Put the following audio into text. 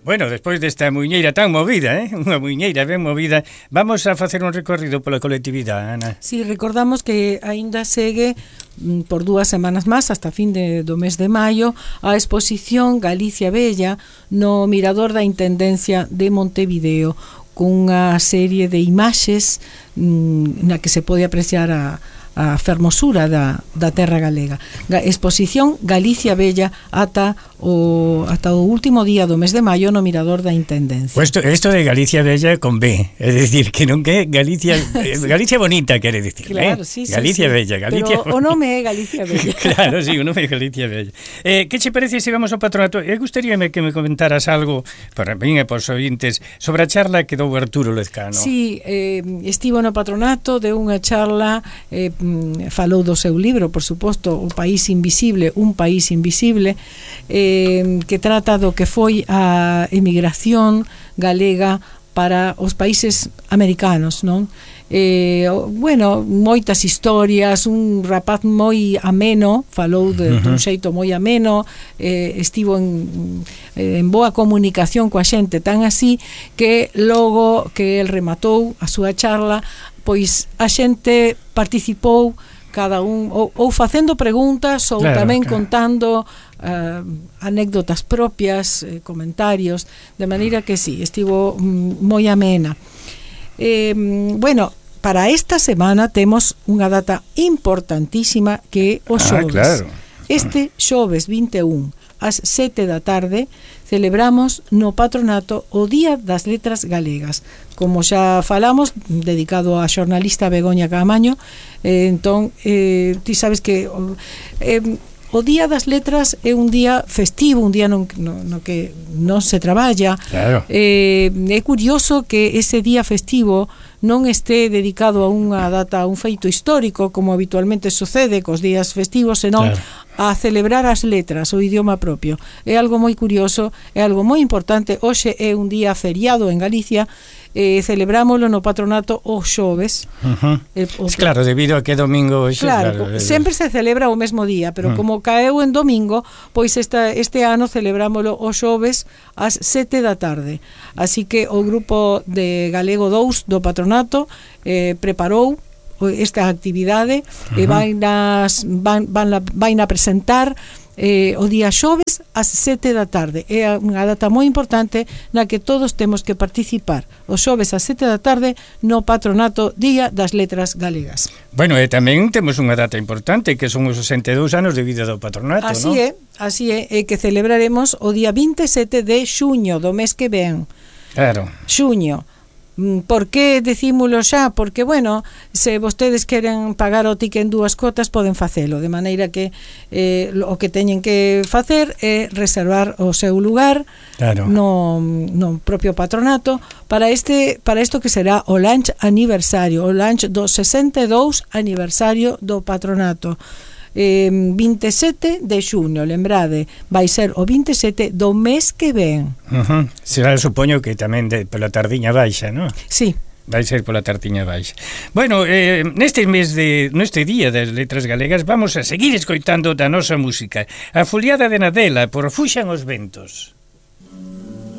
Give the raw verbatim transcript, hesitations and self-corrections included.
Bueno, despois desta muiñeira tan movida, eh? Unha muiñeira ben movida, vamos a facer un recorrido pola colectividade, Ana. Si, sí, recordamos que aínda segue por dúas semanas máis, hasta fin de, do mes de maio, a exposición Galicia Bella no Mirador da Intendencia de Montevideo, cunha serie de imaxes mmm, na que se pode apreciar a a fermosura da, da terra galega. Exposición Galicia Bella ata o, ata o último día do mes de maio no Mirador da Intendencia. Pues isto de Galicia Bella con B, é dicir, que non que Galicia Galicia bonita, quere dicir, claro, eh? sí, sí, Galicia sí. Bella, Galicia. Pero o nome é Galicia Bella. Claro, sí, o nome é Galicia Bella. Eh, que che parece se vamos ao patronato? Eu gustaríame que me comentaras algo para min e por ointes sobre a charla que dou Arturo Lezcano. Sí, eh, estivo no patronato de unha charla, eh, falou do seu libro, por suposto, O País Invisible, un país invisible, eh, que trata do que foi a emigración galega para os países americanos, non? Eh, bueno, moitas historias, un rapaz moi ameno, falou de, uh-huh. dun xeito moi ameno, eh, estivo en, en boa comunicación coa xente, tan así que logo que el rematou a súa charla, pois a xente participou cada un ou, ou facendo preguntas ou claro, tamén claro. contando uh, anécdotas propias, eh, comentarios, de maneira que sí, estivo mm, moi amena. Eh, bueno, para esta semana temos unha data importantísima que é o xoves. Ah, claro. Este xoves vinte e un ás sete da tarde celebramos no patronato o Día das Letras Galegas. Como xa falamos, dedicado á xornalista Begoña Caamaño, eh, entón, eh, ti sabes que eh, o Día das Letras é un día festivo, un día no, no, no que non se traballa. Claro. Eh, é curioso que ese día festivo non esté dedicado a unha data, a un feito histórico, como habitualmente sucede cos días festivos, senón claro. a celebrar as letras, o idioma propio. É algo moi curioso, é algo moi importante. Hoxe é un día feriado en Galicia, eh, celebrámoslo no patronato o xoves. Uh-huh. El, o, claro, debido a que domingo hoxe, claro, claro, sempre se celebra o mesmo día, pero uh-huh. como caeu en domingo, pois esta, este ano celebrámoslo o xoves ás sete da tarde. Así que o grupo de Galego dous do patronato eh, preparou esta actividade uh-huh. e vai nas van, van, van a presentar eh, o día xoves ás sete da tarde. É unha data moi importante na que todos temos que participar. O xoves ás sete da tarde no patronato Día das Letras Galegas. Bueno, e tamén temos unha data importante que son os sesenta e dous anos de vida do patronato, así non? É, así é, e que celebraremos o día vinte e sete de xuño do mes que ven. Claro. Xuño. Por que decímolo xa? Porque, bueno, se vostedes queren pagar o ticket en dúas cotas, poden facelo, de maneira que eh, o que teñen que facer é reservar o seu lugar claro. no, no propio patronato para este para isto que será o lunch aniversario, o lunch do sesenta e dous aniversario do patronato. Eh, vinte e sete de xuño, lembrade, vai ser o vinte e sete do mes que ven. Uh-huh. Será, supoño que tamén de, pola tardiña baixa, non? Sí. Vai ser pola tardiña baixa. Bueno, eh, neste mes de neste día das letras galegas vamos a seguir escoitando da nosa música. A foliada de Nadela por Fuxan os ventos.